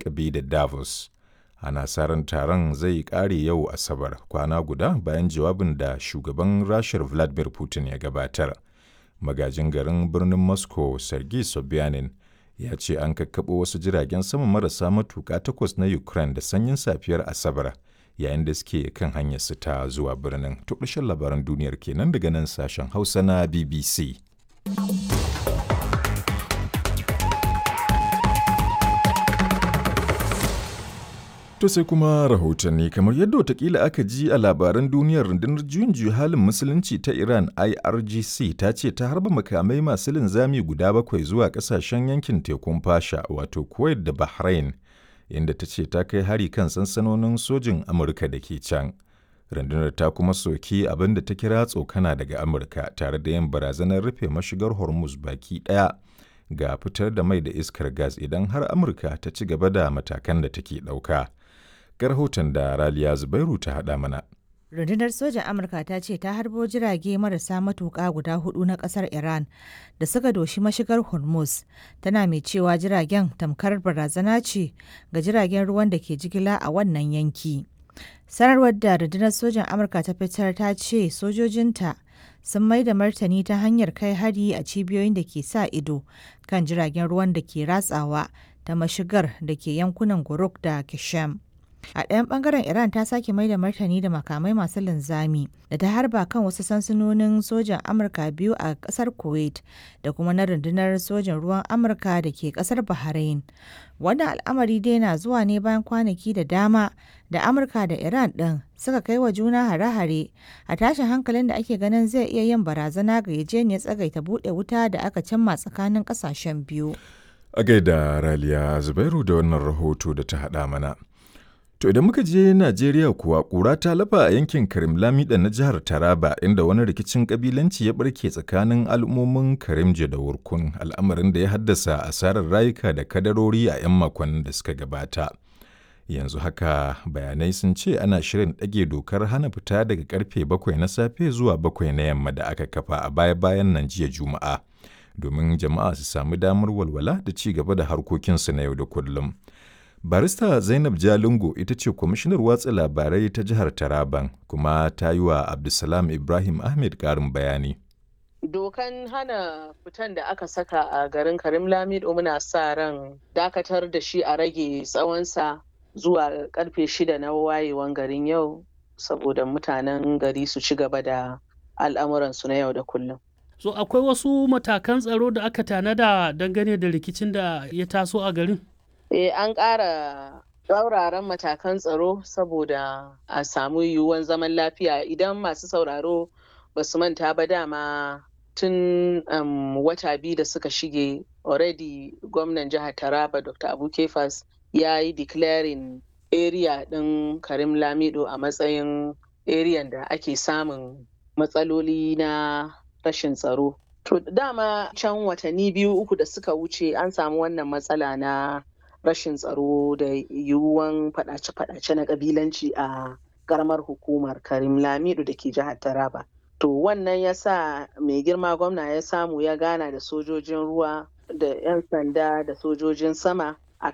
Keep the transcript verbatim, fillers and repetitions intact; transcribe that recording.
lakabi da Davos. Ana sa ran taron zai ƙare yau Asabar, kwana guda bayan jawabin da shugaban Rashar Vladimir Putin ya gabatar. Magajin garin birnin Moscow, Sergei Sobyanin, ya ce an kakkaɓo wasu jiragen sama marasa matuƙa takwas na Ukraine da sanyin safiyar Asabar, yayin da suke kan hanyarsu ta zuwa birnin. To ƙarshen labaran duniyar kenan daga nan sashen Hausa na B B C. To sai kuma rahotanni. Kamar yadda watakila aka ji a labaran duniyar, rundunar juyin juya halin musulunci ta Iran I R G C ta ce ta harba makamai masu linzami guda bakwai zuwa kasashen yankin tekun Fasha, wato Kuwait da Bahrain, inda ta ce ta kai hari kan sansanonin sojin Amurka da ke can. Rundunar ta kuma soki abin da ta kira tsokana daga Amurka tare da yin barazanar rufe mashigar Hormuz baki ɗaya ga fitar da mai da iskar gas idan har Amurka ta ci gaba da matakan da take ɗauka. Ga rahoton da Raliya Zubairu ta haɗa mana. Rundunar sojan Amurka ta ce ta harbo jirage marasa matuƙa guda hudu na ƙasar Iran da suka doshi mashigar Hormuz, tana mai cewa jiragen tamkar barazana ce ga jiragen ruwan da ke jigila a wannan yanki. Sanarwar da rundunar sojan Amurka ta fitar ta ce sojojinta sun mai da martani ta hanyar kai hari a cibiyoyin da ke sa ido kan jiragen ruwan da ke ratsawa ta mashigar da ke yankunan Guruk da Kishem. A ɗayan ɓangaren, Iran ta sake mai da martani da makamai masu linzami da ta harba kan wasu sansanonin sojan Amurka biyu a ƙasar Kuwait da kuma na rundunar sojan ruwan Amurka da ke ƙasar Bahrain. Wannan al'amari dai na zuwa ne bayan kwanaki da dama da Amurka da Iran ɗin suka kai wa juna hare-hare a tashin hankalin da ake ganin zai iya yin barazana ga yarjejeniyar tsagaita buɗe wuta da aka cimma tsakanin ƙasashen biyu. A gaida Raliya Zubairu da wannan rahoto da ta haɗa mana. To idan muka je Najeriya kuwa, ƙura ta lafa a yankin Karim Lamida na jihar Taraba, inda wani rikicin ƙabilanci ya barke tsakanin al'ummomin Karimje da Wurkun, al'amarin da ya haddasa asarar rayuka da kadarori a 'yan makonnin da suka gabata. Yanzu haka bayanai sun ce ana shirin ɗage dokar hana fita daga karfe bakwai na safe zuwa bakwai na yamma da aka kafa a baya-bayan nan jiya Juma'a, domin jama'a su sami damar walwala da ci gaba da harkokinsu na yau da kullum. Barista Zainab Jalingo ita ce kwamishinar watsa labarai ta jihar Taraban, kuma ta yi wa Abdulsalam Ibrahim Ahmed ƙarin bayani. Dokan hana fitan da aka saka a garin Karim Lamido, muna sa ran dakatar da shi a rage tsawonsa zuwa karfe shida na wayewan garin yau, saboda mutanen gari su ci gaba da al'amuransu na yau da kullum. So akwai wasu matakan tsaro da aka tanada dangane da rikicin da ya taso a garin? Eh, an ƙara tsauraran matakan tsaro saboda a samu yiwuwan zaman lafiya. Idan masu sauraro ba su manta ba, dama tun um, wata biyu da suka shige, already gwamnan jihar Taraba, Doctor Abu Kefas, ya yi declaring area ɗin Karim Lamido a matsayin area da ake samun matsaloli na rashin tsaro. To dama can watanni biyu uku da suka wuce an samu wannan matsala na rashin tsaro da yiwuwan fadace-fadace na kabilanci a karamar hukumar Karim Lamido da ke jihar Taraba. To wannan ya sa mai girma gwamna ya samu ya gana da sojojin ruwa da 'yan sanda da sojojin sama.